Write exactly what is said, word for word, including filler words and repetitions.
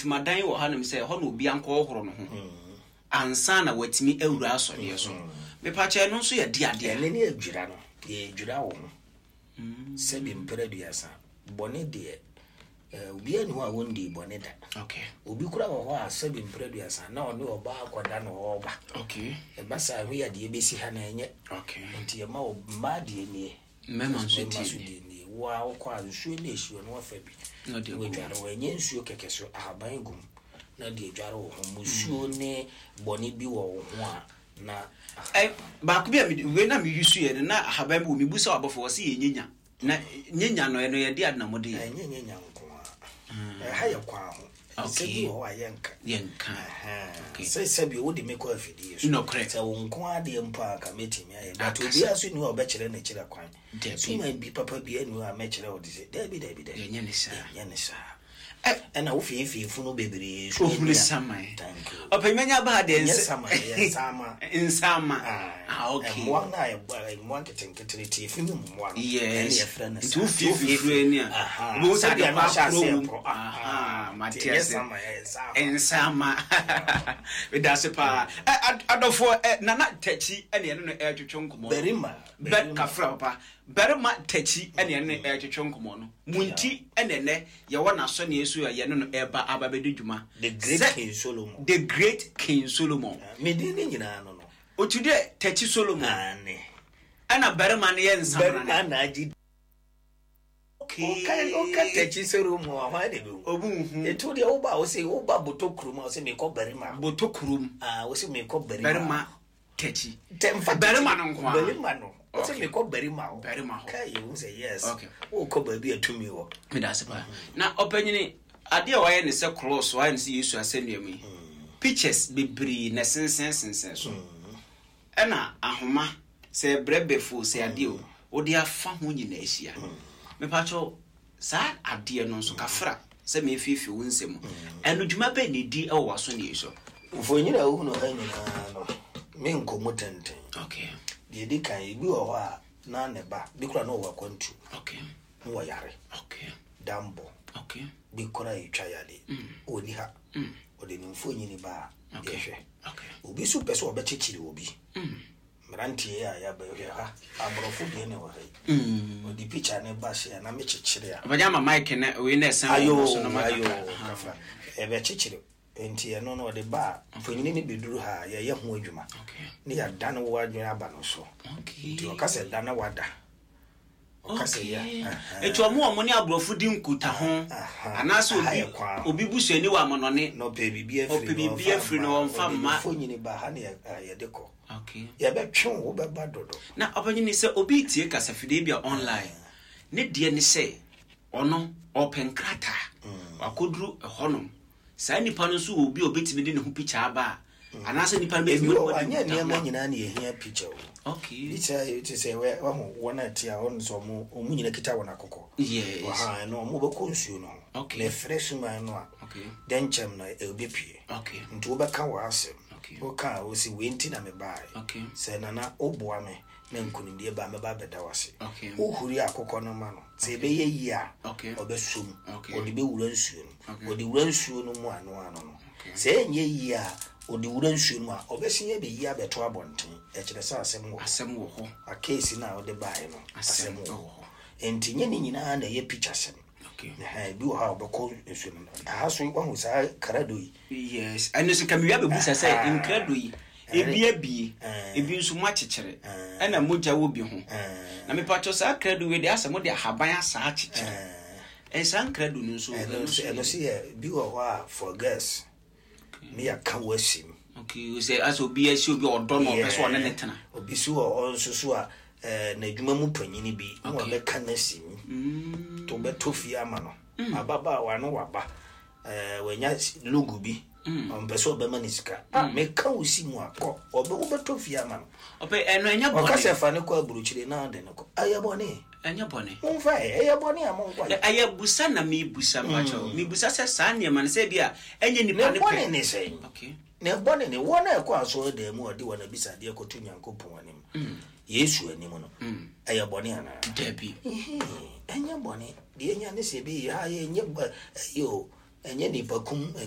Ntomadan wɔ hanom sɛ ɛhɔ na obi ankɔhoro ne ho ansa na watumi awura asɔreɛ so. Mepakyɛ, ɛno nso yɛ de adeɛ? Ɛne ne adwira no, yɛdwira wo ho. Sɛbi mpere aduasa, bɔne deɛ, eh, obiara ni hɔ a wɔndii bɔne da. Okay obi kora wɔ hɔ a, sɛbi mpere aduasa, na ɔne ɔbaa akɔda no ɔɔba. Okay ɛba saa, ho yɛ adeɛ bɛsi ha na ɛnyɛ. Okay nti yɛma wo mmaa deɛ nie. Mmarima nso mmarima tie. So deɛ nie, wo a wokɔ a, nsuo no ɛhyi no, wafa bi Na ɔde agu. Wɔadware wɔ, ɛnyɛ nsuo kɛkɛ so, ahaban gu mu na deɛ dware wo ho, musuo ne bɔne bi wɔ wo ho a na Ɛ, baako bi a mede wei na meyi so yɛ no na ahaban bi wɔ mebu sɛ wabɔfo wɔ sɛ yɛ nyenya na nyenya no, ɛno yɛde ade na mode yɛ? Ɛnyɛ nyɛ nko a, ɛha yɛ kwan ho sɛ bi Okay. wɔ hɔ a yɛnka. Yɛnka. Okay. Sɛ sɛbi wode me kɔ afidie so. Nokorɛ. Sɛ wo nko adeɛ mpo a, ka mɛtumi ayɛ, but Akasa. obiara so nni hɔ a ɔbɛkyerɛ ne kyerɛ kwan. Dabi. Suma bi papa bi ani hɔ a mɛkyerɛ wo de sɛ dabi, dabi, dabi. Yɛnyɛ ne saa. Yɛnyɛ ne saa. Ɛ, ɛna wofiefie funu bebree so. Ohunu ani a- saman. Thank you. Ɔpɛnyimanya ba ha deɛ. Ɛnyɛ nsɛ- saman, ɛyɛ nsama. Nsama. Ah, Ah, okay. Mmoa no a ɛbɔ- mmoa nketenkete tie fi mu mmoa no, Yes. ɛne yɛfrɛ no Nti saa. wofiefie funu ani a, Aha. wobɛhu sɛ Sɛdeɛ ade no ahyɛ kɔ aseɛ akorɔ wom. porɔ. Aha, mate Nti ɛnyɛ ase. sama, ɛyɛ nsama. Nsama, meda ase paa. Ɛ, ad- adɔfoɔ ɛ, Nana Takyi ɛne ɛne no ɛretwetwe nkɔmmɔ no. Barima. Bɛ kafra papa, Barima Takyi ɛne ɛne no ɛretwetwe nkɔmmɔ no mu, nti ɛne ɛnɛ yɛwɔ n'asɔneɛ so a yɛne no ɛreba aba bɛdi dwuma. The Great Sɛ- King Solomon. The Great King Solomon. Medin ne nyinaa no no Otu deɛ Takyi Solomon. Ane. Ɛna barima no yɛ nsamana. Barima na agye. Okay. ɔka ɔka Takyi Solomon a, hwan de bɛwu? Obu nhu. Ɛtu deɛ woba a, wo sɛ woba Botɔ kurom a, wo sɛ mekɔ barima. Botɔ kurom. Ah, wo sɛ mekɔ barima. Barima Takyi. Tɛ- mfa Barima no nko ara. Barima no, wo sɛ Okay. mekɔ barima hɔ. Barima hɔ. Ka yɛhu sɛ yes, Okay. wokɔ baabi a tumi wɔ. Meda ase paa. Na ɔpanyini, adeɛ a wayɛ ne sɛ cross, wayɛ ne sɛ Yesu asɛnnua mu yi, pictures bebree na sensɛnsensɛn so, ɛna ahoma sɛ brɛbɛfo sɛ adeɛ o, wode afa ho nyinaa ahyia. Mepakyɛw, saa adeɛ no nso kafra sɛ mefiefie wo nsɛm, ɛno dwuma bɛɛ ne di ɛwɔ w'asɔneɛ so? Mfonyin a wohunu ha nyinaa no, menkɔ mu tenten. Okay deɛ ɛdi kan, ebi wɔ hɔ a na ne ba bi kora na ɔwɔ akwantu okay na wɔyare, okay dambɔ okay bi kora yɛtwa yade, ɔni ha, ɔde ne mfonyini ba a, Okay. yɛhwɛ. Okay obi nso pɛ sɛ ɔbɛkyekyere obi. Mm. Mmeranteɛ a yɛabɛhwɛ ha, aborɔfo deɛ ne wɔ ha yi, Mm. ɔde picture ne ba hyɛ a na mekyekyere a. Ɔbɛgya ama mic na wei na ɛsɛn Ayo. wɔ so no ma Ayo. kakra. Kafa ɛbɛkyekyere, nti ɛno no ɔde ba a, mfonyini no bɛduru ha a, yɛyɛ ho adwuma okay ne yɛadane wo adwene aba no so. Okay nti ɔka sɛ da na wada, ɔka sɛ yɛ. Etu ɔmo a ɔmo ne aborɔfo di nkuta ho Aha. anaasɛ Aha obi yɛ kwan ho. Obi busuani wɔ amanɔne. Na ɔpɛ biribi Ɔpɛ afiri no, biribi afiri no, ɔmfa ɔde mma. ne mfonyini ba ha ne yɛ- a, yɛde kɔ. Okay yɛbɛtwe wo, wobɛba dodo. Na ɔbɛnyini sɛ obi tie kasafidie bi a online ne deɛ ne sɛ ɔno ɔpɛ nkrataa, wakɔduru ɛhɔnom, saa nipa no nso wɔ obi a obɛtumi de ne ho picture aba a, anaasɛ nipa no Ebi bɛtumi wɔ hɔ de anyɛ ne ho nneɛma nyinaa ne yɛhia picture o. Okay picture yi te sɛ wɛ- wahu wɔn a ɛte a, ɔno sɛ ɔmo ɔmo nyina kita wɔn akokɔ. Yes. Ɔha ɛno ɔmo bɛkɔ nsuo no ho. Okay. Na ɛfrɛ suman no a, okay dɛnkyɛm no ɛbɛpue. Okay nti wobɛka wɔ asɛm. Okay. Woka a, wosi wei nti na mebaeɛ. Okay sɛ Nana woboa me na nkonimdie ba, mɛba abɛda wo ase. Okay. Wohuri akokɔ no ma no sɛ ɛbɛyɛ yie a, Okay. ɔbɛsom. Okay. Ɔde bɛwura nsuo no. Okay. Ɔde wura nsuo no mu ano ano no, sɛ ɛnyɛ yie a, ɔde wura nsuo no mu a, ɔbɛsen abɛyi abɛto abɔnten, ɛkyerɛ sɛ asɛm wɔ hɔ. Asɛm wɔ hɔ. Akeesi no a wode baeɛ no, asɛm asɛm wɔ wɔ hɔ. Hɔ. Nti nyɛ ne nyinaa na ɛyɛ picture sɛm. Okay ɛhɛn, ebi wɔ hɔ a ɔbɛkɔ nsuo no mu. Aha so wahu saa krado yi? Yes, ɛno nso kamewia bɛbusa sɛ Aha. nkrado yi, ebi abie, Eh. ebi nso mo akyekyere, Eh. ɛna mogya wɔ bi ho. Eh. Na mepatwɛ, saa krado wei deɛ, asɛ mode ahaban asa akyekyere. Eh, ɛ, saa nkrado no nso? ɛno nso ɛno nso yɛ bi wɔ hɔ a, for girls ne yɛaka wɔ asim. Okay, sɛ asɛ obi asi obi a ɔdɔ no, ɔpɛ sɛ ɔne ne tena. Obi so wɔ hɔ nso so a, ɛɛ n'adwuma mu panyini bi na Okay. wabɛka n'asim Mm. to bɛtɔ fie ama no, ababaawa no waba, ɛɛ wanya logo bi, ɔmpɛ sɛ ɔbɛma ne sika a, meka wo si mu akɔ ɔbɛ wobɛtɔ fie ama no. Ɔpɛ ɛno ɛnyɛ Ɔka bɔne? sɛ fa ne kɔ aburokyire na ɔde ne kɔ, ɛyɛ bɔne? Ɛnyɛ bɔne. Momfa ɛ, ɛyɛ bɔne a monkɔ Ɛ- ɛyɛ busa na mebusa, mpakyɛw, mebusa sɛ saa nneɛma no sɛ bi a ɛnyɛ nipa ne ne bɔne pɛ. Ne sɛn? Okay ne bɔne ne wɔn a ɛkɔ asɔre dan mu a ɔde wɔn abisadeɛ kɔto Nyankopɔn anim, Yesu anim no, ɛyɛ bɔne anaa? Dabi. Ehe, ɛnyɛ bɔne deɛ ɛnya ne sɛ bi ha yɛ ɛnyɛ bɔ- ɛyɛ o, ɛnyɛ nipa kum, ɛnyɛ